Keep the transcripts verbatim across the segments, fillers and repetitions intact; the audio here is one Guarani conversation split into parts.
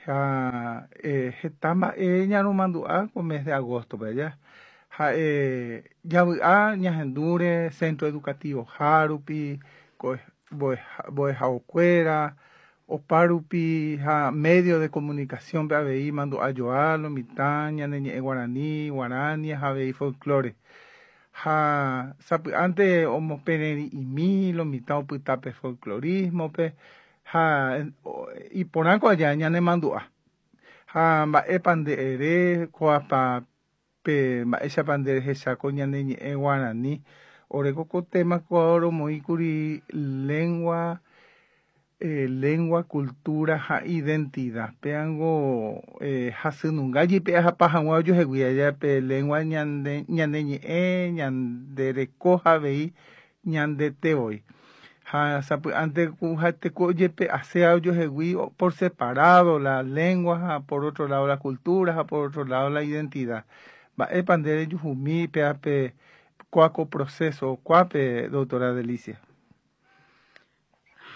Ha heta mba'e ñaromandu'a ko mes de agosto-pe aja ha'e javy'a ñahendúre centro educativo hárupi ko mbo'ehaokuéra opárupi ha medio de comunicación-pe avei mandu'ajoa lo mitã ñane ñe'ẽ guarani, guarania ha avei folklore ha sapy'ánte omopererĩ'imi lo mitã opyta pe folclorismo-pe ha iporãko aja ñanemandu'a ha mba'épa nde ere ko'ápa pe mba'éichapa nde rehecha ko ñane ñe'ẽ guarani oreko ko tema ko romoĩkuri lengua eh, lengua, cultura ha identidad péango eh, hasynunga jepe'ahapa hag̃ua ojuehegui aja pe lengua ñande ñane ñe'ẽ ñande reko ha avei ñandetevoi ha sapy'ánte ku ha'eteko ojepe'ase ojuehegui por separado la lengua ha por otro lado la cultura ha por otro lado la identidad mba'épa nde rejuhumi péape kua ko proceso kuápe doctora Delicia.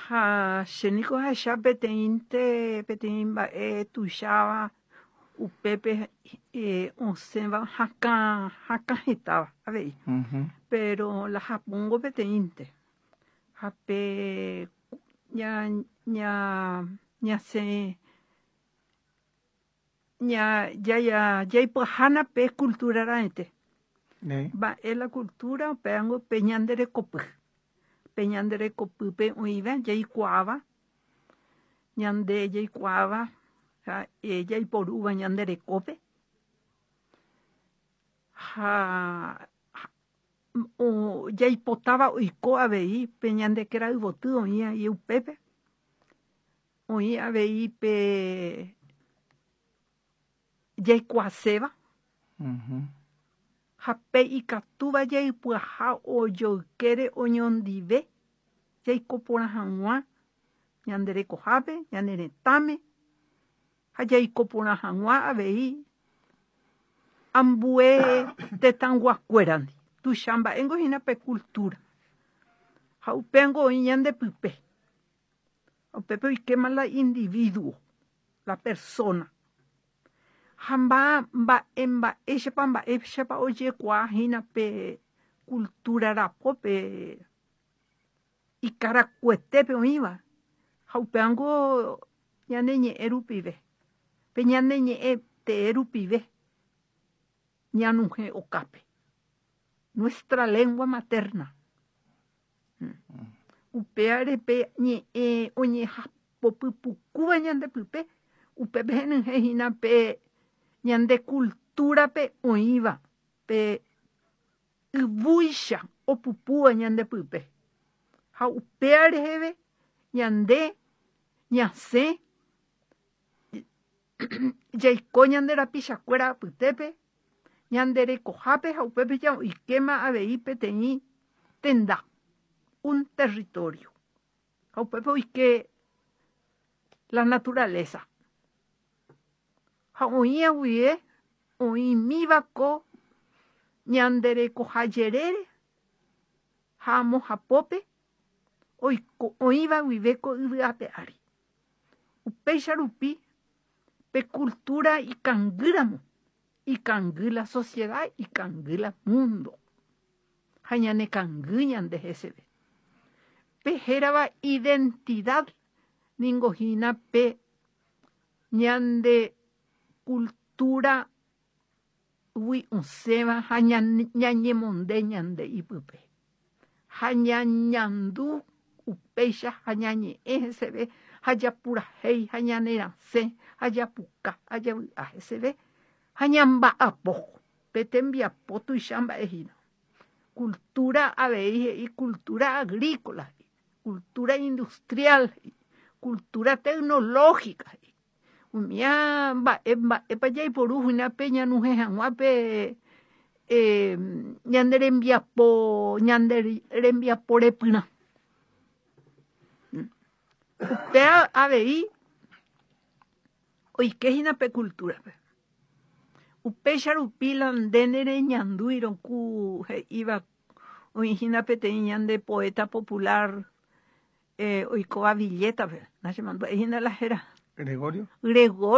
Ha chéniko ahecha peteĩnte peteĩ mba'e tuicháva upépe eh, osẽva hakã hakã hetáva avei Uh-huh. pero la Japóngo peteĩnte ha pe ña ña ñasẽ ña jaya jaipyahána pe cultura raẽte Néi. mba'e la cultura upévango pe ñanderekopy pe ñanderekopýpe oĩva jaikuaáva ñande jaikuaáva ha jaiporúva ñande rekópe ha o jaipotáva oiko avei pe ñande kerayvoty oĩ aí upépe oĩ avei pe jaikuaaséva Uh-huh. ha pe ikatúva jaipyaha ojoykére oñondive jaiko porã hag̃ua ñande rekohápe ñane retãme ha jaiko porã hag̃ua avei ambue tetãyguakuérandi tuicha mba'éngo hína pe cultura ha upéngo oĩ ñandepype upépe oikéma la individuo la persona ha mba mba'e mba'éichapa mba'éichapa ojekuaa hína pe cultura rapópe ikarakuetépe oĩva ha upévango ñane ñe'ẽ rupive pe ñane ñe'ẽ tee rupive ñanuhẽ okápe nuestra lengua materna upévare pe ñe'ẽ oñehapopypukúva ñandepype upépe henyhẽ hína pe ñande cultura-pe oĩva pe yvúicha opupúva ñandepype ha upéva reheve ñande ñasẽ jaiko ñande rapichakuéra apytépe ñande rekohápe ha upépe oikéma avei peteĩ tenda un territorio ha upépe oike la naturaleza ha oĩ guive oĩmíva ko ñande rekoha jerére ha amo hapópe oiko oĩva guive ko yvy ape ári upéicha rupi pe cultura ikangýramo ikangy la sociedad ikangy la mundo ha ñanekangy ñande heseve pe hérava identidad ningo hína pe ñande cultura gui osẽva ha ñañemonde ñande ipype ha ñañandu upéicha ha ñañe'ẽ heseve ha japurahéi ha ñanerasẽ ha japuka ha javy'a heseve ha ñamba'apo pe tembiapo tuicha mba'e hína cultura avei he'i cultura agrícola cultura industrial cultura tecnológica umía mba'e mba'épa jaiporu hína pe ñanuhẽ hag̃ua pe eh, ñande rembiapo ñande rembiapo repyrã upéva avei oike hína pe cultura-pe upéicha rupi la nde nereñandúirõ ku he'íva oĩ hína peteĩ ñande poeta popular eh, oikóva Villeta-pe nachemandu'ái hína la héra Gregorio. Gregorio.